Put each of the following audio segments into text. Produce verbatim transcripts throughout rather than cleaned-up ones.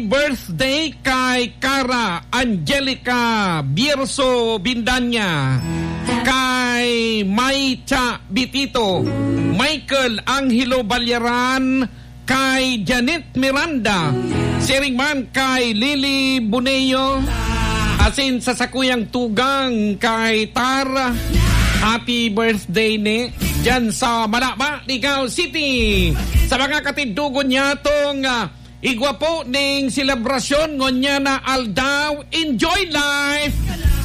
Birthday kay Cara Angelica Bierzo Bindanya, kay Maicha Bitito, Michael Angelo Balyaran, kay Janet Miranda, siring man kay Lily Boneo, asin sa sakuyang tugang kay Tar. Happy birthday ni dyan sa Malaba, Ligao City. Sa mga katindogon niya tong, ah, igwa po ning selebrasyon ngunyan na aldaw, enjoy life.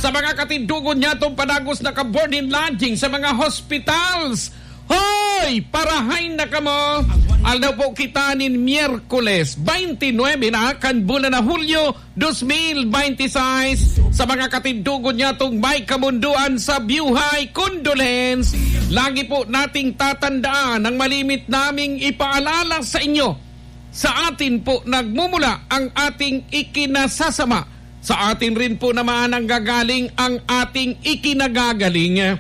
Sa mga katindogon niya tong padagos na ka-board and lodging sa mga hospitals, hoy, parahay na kamo! Aldaw po kita nin Miyerkules, twenty-nine na kan bulan na Hulyo, dos mil bente seis. Sa mga katindogon niya tong may kamundoan sa biyuhay, condolence. Lagi po nating tatandaan ang malimit naming ipaalala sa inyo. Sa atin po nagmumula ang ating ikinasasama. Sa atin rin po naman nanggagaling ang ating ikinagagaling.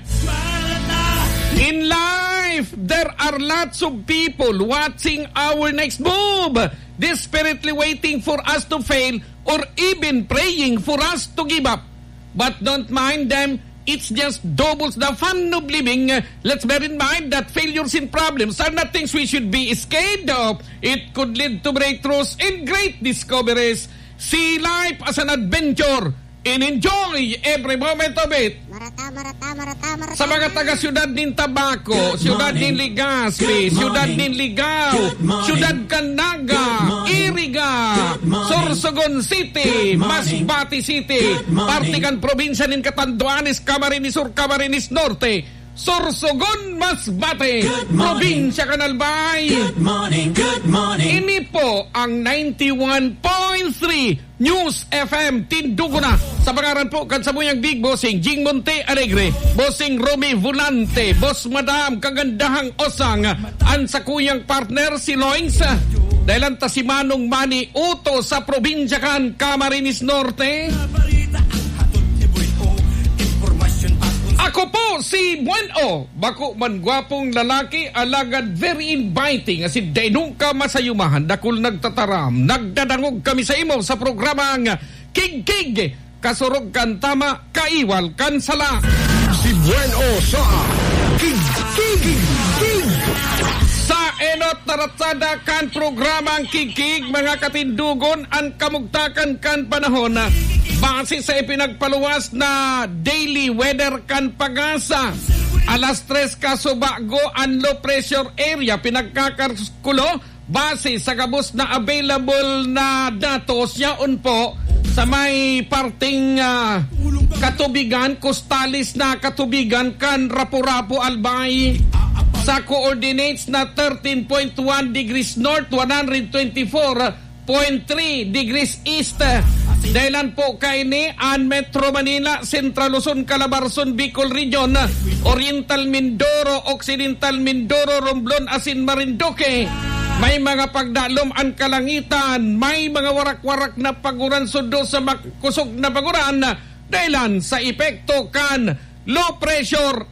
In life, there are lots of people watching our next move, desperately waiting for us to fail or even praying for us to give up. But don't mind them, it's just doubles the fun of living. Let's bear in mind that failures and problems are not things we should be scared of. It could lead to breakthroughs and great discoveries. See life as an adventure and enjoy every moment of it. Marata, marata, marata, marata. Sa mga taga-siyudad nin Tabaco, siyudad nin Legazpi, siyudad nin Ligao, siyudad kan Naga, Iriga, Sorsogon City, Masbate City, parte kan probinsya nin Catanduanes, Camarines Sur, Camarines Norte, Sorsogon, Masbate, probinsya kan Albay. Good morning, good morning. Ini po ang ninety-one point three News F M Tindugo na. Sa pangaran po kan samuyang Big Bossing Jing Monte Alegre, Bossing Romy Volante, Boss Madam Kagandahang Osang, an sakuyang partner si Loins. Dahelan ta si Manong Manny Uto sa probinsya kan Camarines Norte. Ako po si Buen O. Bako man gwapong lalaki, alagad very inviting, asin dai nungka masayumahan, dakul nagtataram. Nagdadangog kami sa imo sa programang Kigkig, kasurog kan tama, kaiwal kan sala. Si Buen O sa Kigkig. Sa enot na ratsada kan programang Kigkig, mga katindugon, an kamugtakan kan panahon, base sa ipinagpaluwas na daily weather kan PAGASA. Alas tres kasubago an low pressure area pinagkakaskulo base sa gabos na available na datos yaon po sa may parting, ah, katubigan, kostales na katubigan kan Rapu-Rapu, Albay, sa coordinates na thirteen point one degrees north, one hundred twenty-four point three degrees east. Dahelan po kaini an Metro Manila, Central Luzon, Calabarzon, Bicol Region, Oriental Mindoro, Occidental Mindoro, Romblon asin Marinduque. May mga pagdalom an kalangitan, may mga warak-warak na paguran sundo sa makusog na paguran, dahelan sa epekto kan low pressure